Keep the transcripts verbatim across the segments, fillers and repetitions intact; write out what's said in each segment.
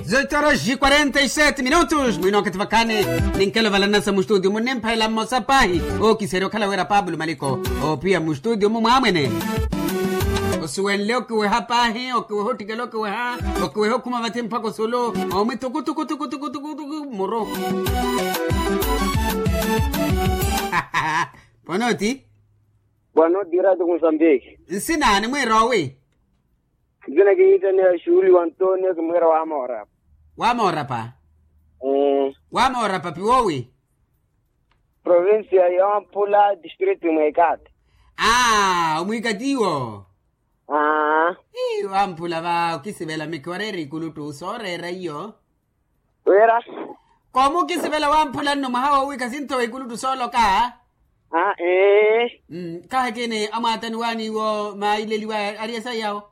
Zoitoros ji quarenta e sete minutos mwino wakati vakhaani. Ninkelo valanasa mustutio munnimphalela mmosa paahi. Ookiserya okhala wira pablo maliko, oopiya mustutio mu mwaamwene. Osuwenle okiweha paahi okiweha ottikela okiweha, okiweha okhuma vathi mpakha osulu. Oomwi tukutukutukutukutukutuku muru. Pwanooti. Pwanooti ratu kunsambiki. Nsina nimwiira owi? Nsina kihittaniya xuuli wa antonio kimwiira wamoorapa. Wamoorapa. Wamoorapa piwowi? Provincia ya wampula district mwekati. Aa omwikati iwo. Aa. Ii wamphula va okisivela mikhi wareera ikuluttu sooreera iyo. Wira. Koomukisivela wamphula nno mwaha wowikha sinthowa ikuluttu sooloka. Aa ee. Kahakini amwaatani waaniwo maileliwa ari esaiyawo.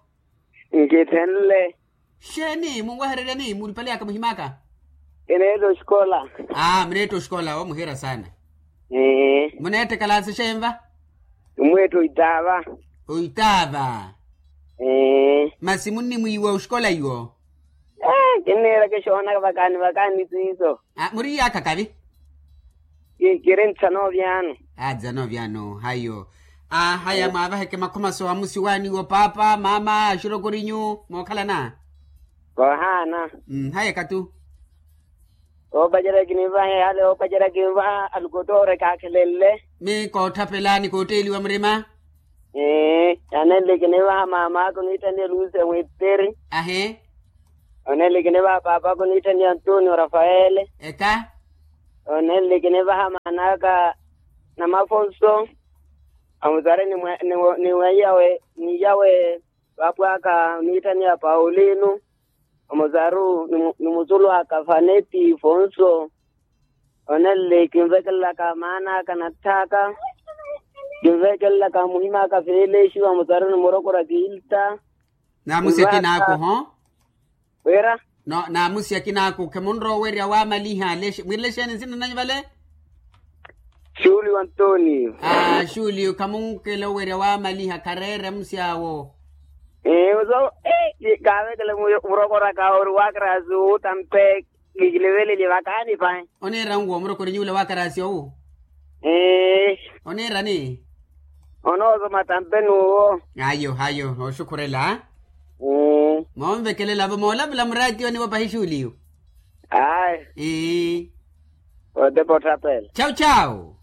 Nkithenle. Xeeni munwehereryani mulipale aka muhimaka? Kineetta oxikola. Aa muneetta oxikola omuhiira saana. Muneetta ekalaasi xenva? Mweetta oitaava. Oitaava. Masi munnimwiiwa oxikola iwo? Kinniira kixoonaka vakaani vakaani siiso. Muriyaakha kavi? Kiri ntsano vyaano. Aa ntsano vyaano hayo. Aa haya mwaavaheke makhomaso amusi waaniwo paapa maama axurokorinyu mookhalana. Voohaana. Haya ekatu. Oopacerya kinivaha ehale oopacerya kinvaha alukotoore kaakhelenle. Mi koottapela ni kootteeliwa murima. Anenle kinivaha maam'aka oniitthaniya lucia mwitteri. Ahi. Onenle kinivaha paap'aka oniitthaniya antonio rafaele. Eka. Onenle kinivaha maan'aka namafonso. Amusari ni mweyawe ni yawe. Paap'aka oniitthaniya paulino. Omusaru ni musulu aka faneti fonso. Onenle kinvekelelaka maan'aka natth'aka. Kinvekelelaka muhim'aka felexi vamusaruni murokora kilta. Naamusi akinaaku ho. Wira. Naamusi akinaaku khemunrowa owerya waamaliha. Mwiirele xeeni nsina nanyu vale? Xulio antonio. Aa xulio khamunkela owerya waamaliha khareere amusi awo. Ee muso. Kaavekele murokoraka ori wakarasi utampe. Kikilivelelye vakaani pahi. Oniira nwo murokorinyu ula wakarasi owu? Ee. Oniirani? Onoosoma tampe n'uwo. Ayo ayo nooxukhurela. Moonvekelela-vo moolavula muraatiyoni-vo pahi xuuliyu. Ayo. Otepa otthapela. Chau chau.